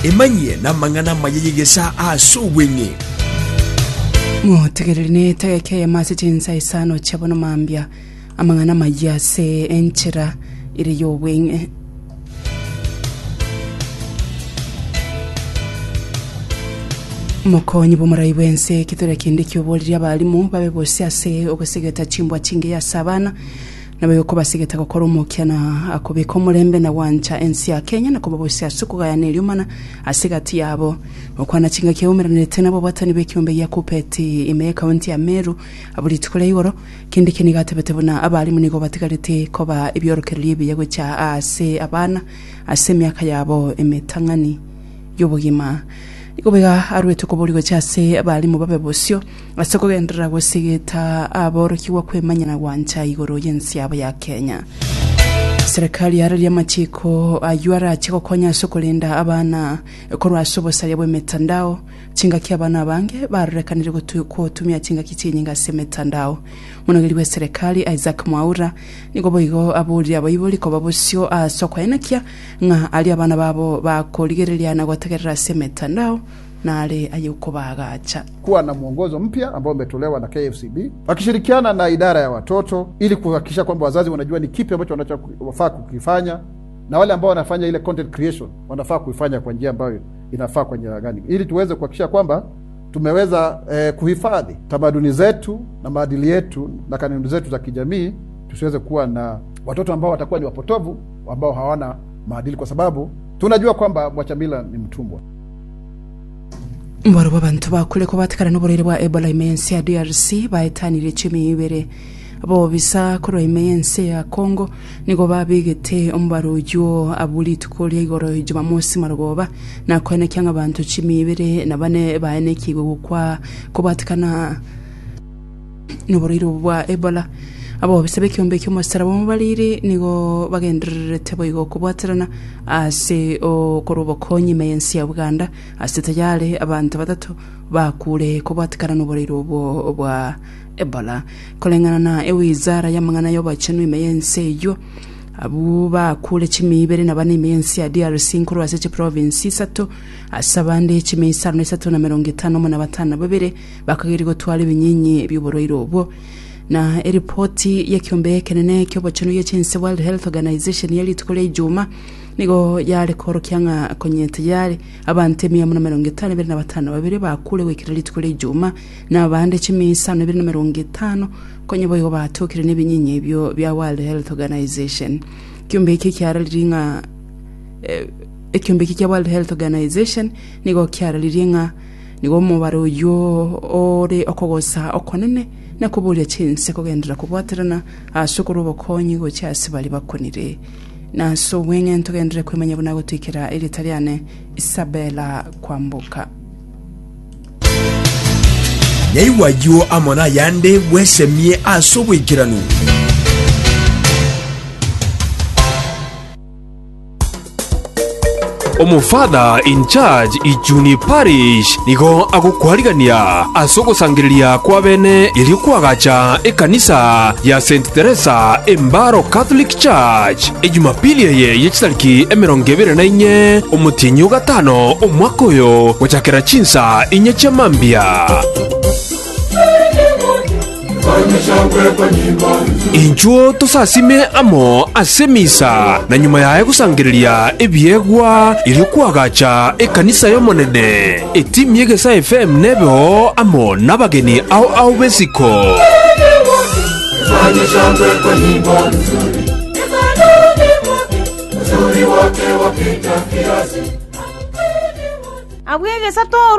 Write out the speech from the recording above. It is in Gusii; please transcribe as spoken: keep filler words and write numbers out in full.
Emanyie namang'ana amaya y'egesaa ase obweng'e. Motegereri ne etageka eyemo ase chinsa isano chia bono mambia, amang'ana amayia ase enchera ere y'obweng'e. Omokonyi bw'omorai bw'ense Kithure Kindiki oboririe abalimu babe bosio ase ogosegeta chimbwa chingiya ase abana, Naboigo kobasegete gokora omokia na kobeka omorembe na gwancha ense ya Kenya na koba bosio ase okogayana eriomana ase egati yabo. Gokwana chingaki aumeranerete nabobwatani b'ekiombe gia Kuppet ime y'ekaunti ya Meru abwo rituko ria igoro, Kindiki nigo atebete buna abalimu nigo batigarete koba ebiorokererio ebiya gocha ase abana ase emiaka yabo emetang'ani. y'obogima. Nigo boigo aruete okoboria gochia ase abalimu babe bosio ase okogenderera gosegeta aborokigwa kwemanya na gwancha igoro y'ense yabo ya Kenya. Serikali yararia amachiko ayio arache gokonya ase okorenda abana korwa ase obosaria bw'emetandao, chingaki abana abange barorekanire gotu gotumia chingaki chinyinge ase emetandao. Omonogeri bw'eserekari Isaac Mwaura nigo boigo aborire abaibori koba bosio ase okoenekia ng'a aria abana babo bakorigereria na gotegerera ase emetandao nare ay'okobaagacha. Kuwa na mwongozo mpya ambao umetolewa na K F C B wakishirikiana na idara ya watoto ili kuhakikisha kwamba wazazi wanajua ni kipi ambacho wanachofaa kukifanya, na wale ambao wanafanya ile content creation wanafaa kuifanya kwa njia ambayo inafaa kwa njia gani, ili tuweze kuhakikisha kwamba tumeweza, eh, kuhifadhi tamaduni zetu na maadili yetu na kanuni zetu za kijamii, tusiweze kuwa na watoto ambao watakuwa ni wapotovu ambao hawana maadili, kwa sababu tunajua kwamba mwachamila ni mtumwa. Mbarabwo abanto bakure kobatikana noborwaire bwa Ebola ime y'ense ya D R C baetanirie chimia ibere. Abobisa korwa ime y'ense ya Congo nigo babegete omobaro oyio abwo rituko ria igoro Jumamosi marogoba, na koenekia ng'a abanto chimia ibere na bane baenekigwe gokwa kobatikana noborwaire obwo bwa Ebola. Abobisa b'ekiombe ki'omosaraba omobariri nigo bagendererete boigo kobwaterana ase okorwa obokonyi ime y'ense ya Uganda ase tayari abanto batato bakure kobwatikana noborwaire obwo bwa Ebola. Koreng'ana na ewizara y'amang'ana y'obochenu ime y'ense eyio, abwo bakure chimia ibere na bane ime y'ense ya D R C nkorwa ase chiprovinsi isato, ase abande chimia isano na isato na merongo etano amo na batano na babere bakageria gotwara ebinyinyi bi'oborwaire obwo. Na eripoti y'ekiombe ekenene ki'obochenu gi'echinse World Health Organization ya rituko ria Ijuma nigo yare korokia ng'a konye tayari abanto emia emo na merongo etano ebere na batano babere bakure goikera rituko ria Ijuma, na abande chimia isano ebere na merongo etano konye boigo batokire nebinyinyi ebio bia World Health Organization. Ekiombe eke kiararirie ng'a eh, ekiombe eke kia World Health Organization nigo kiararirie ng'a nigo omobaro oyio ore okogosa okonene na koboria chinse kogenderera kobwaterana ase okorwa obokonyi gochia ase baria bakonire. Na ase obweng'e ntogenderere kwemanya buna gotoikera erieta riane Isabella Kwamboka. Nyaigwa ayio amo nayande bwesemie ase oboikeranu. Omofather in charge Ichuni Parish nigo agokwarigania ase ogosangereria kwa bene erio kwagacha ekanisa ya Saint Teresa Embaro Catholic Church Ejumapili eye yechitariki emerongo ebere na inye omotienyi o gatano omwaka oyo gochakera chinsa inye chia mambia. Inchuo tosasime amo ase emisa, na nyuma yaye gosangereria ebiegwa erio kwagacha ekanisa y'Omonene. Etimu y'Egesaa F M nebeo amo nabageni ao ao b'esiko. Abwo egesa toru